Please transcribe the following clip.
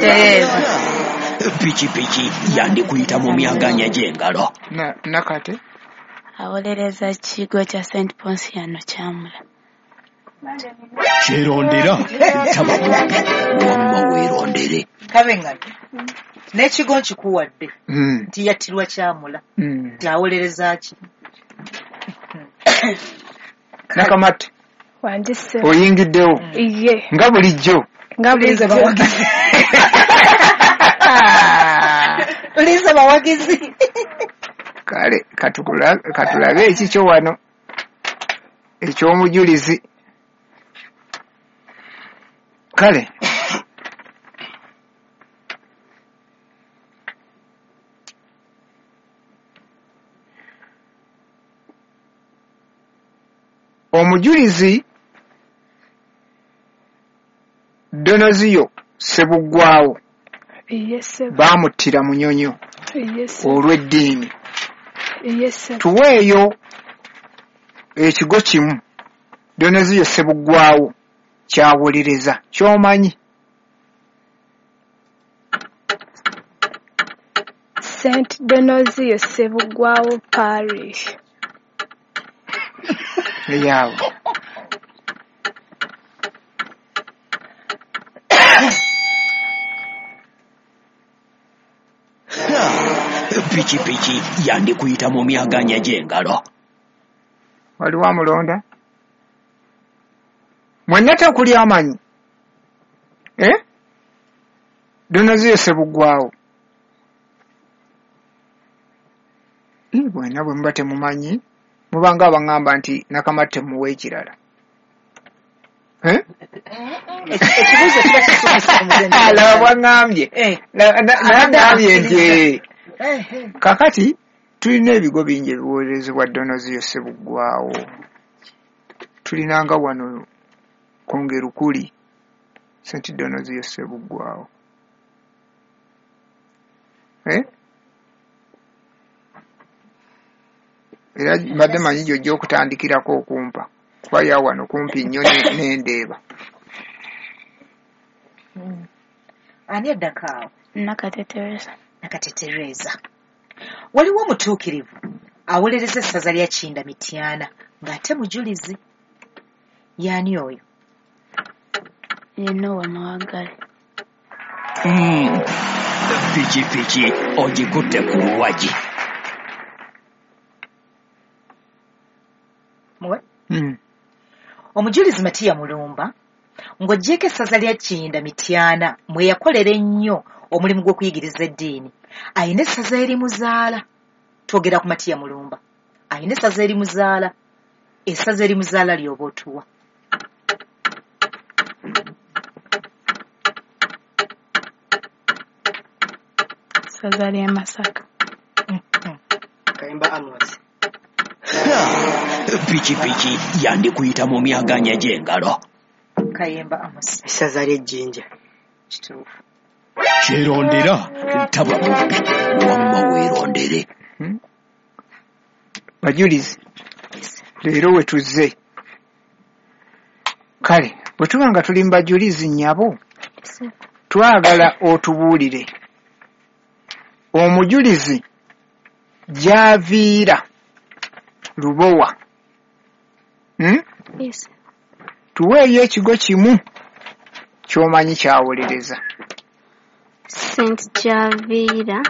Tereza. Pikipiki yandikuyita mu myaganya gy'engalo. Nakate. Awolereza kigo kya St. Ponsiano Kyamula. Kyerondera taba mubbi, wamma weerondere. Kabengano n'ekigo nkikuwadde nti yattirwa Kyamula, nti awolereza ki? Nakamate. Wangi ssebo. Oyingiddewo. Iye. Nga bulijjo. Nga bulijjo. Bawagizi. Uliza bawagizi. Kale katulabe ekikyo wano ekyomujulizi. Kale omujulizi Donoziyo Ssebuggwawo baamuttira Munyonyo olw'eddiini. Tuweeyo ekigo kimu Donoziyo Ssebuggwawo kyawolereza ky'omanyi. St. Donoziyo Ssebuggwawo Parish. Eyaawo. Pikipiki yandikuyita mu myaganya gy'engalo. Waliwo amulonda? Mwenna tekuli amanyi? Donoziyo Ssebuggwawo. Bwenna bwe muba temumanyi, mubanga abaŋŋamba nti Nakamatte muwe ekirala. Ekibuuzo kiba kisukise ku mugendo. Laba bwaŋŋambye. Naŋŋambye nti kakati tulina ebigo bingi ebiwolerezebwa Donoziyo Ssebuggwawo. Tulinanga wano Kongerukuli St. Donoziyo Ssebuggwawo. Era mbadde manyi gy'ojja okutandikirako okumpa kuba ya wano kumpi nnyo n'endeeba. Ani addako awo? Nakate Tereza. Nakate Tereza. Waliwo omutuukirivu awolereza essaza lya Kinda Mityana ng'ate mujulizi. Y'ani oyo? Ye Noah Mawagale. Pikipiki ogikutte ku luwagi. Muwe? Omujulizi Matiya Mulumba ng'oggyeeko essaza lya Kinda Mityana mwe yakolera ennyo omulimu gw'okuyigiriza eddiini, ayina essaza erimuzaala. Twogera ku Matiya Mulumba. Ayina essaza erimuzaala. Essaza erimuzaala ly'oba otuwa. Ssaza ly'e Masaka. Kayemba Amos. Pikipiki yandikuyita mu myaganya gy'engalo. Kayemba Amos. Essaza ly'e Jjinja. Kituufu. Kyerondera taba mubbi, wamma weerondere. Bajulizi, leero we tuzze. Kale bwe tuba nga tuli mu bajulizi nnyabo, twagala otubuulire omujulizi gy'aviira Lubowa. Tuweeyo ekigo kimu ky'omanyi kyawolereza. St. Javiera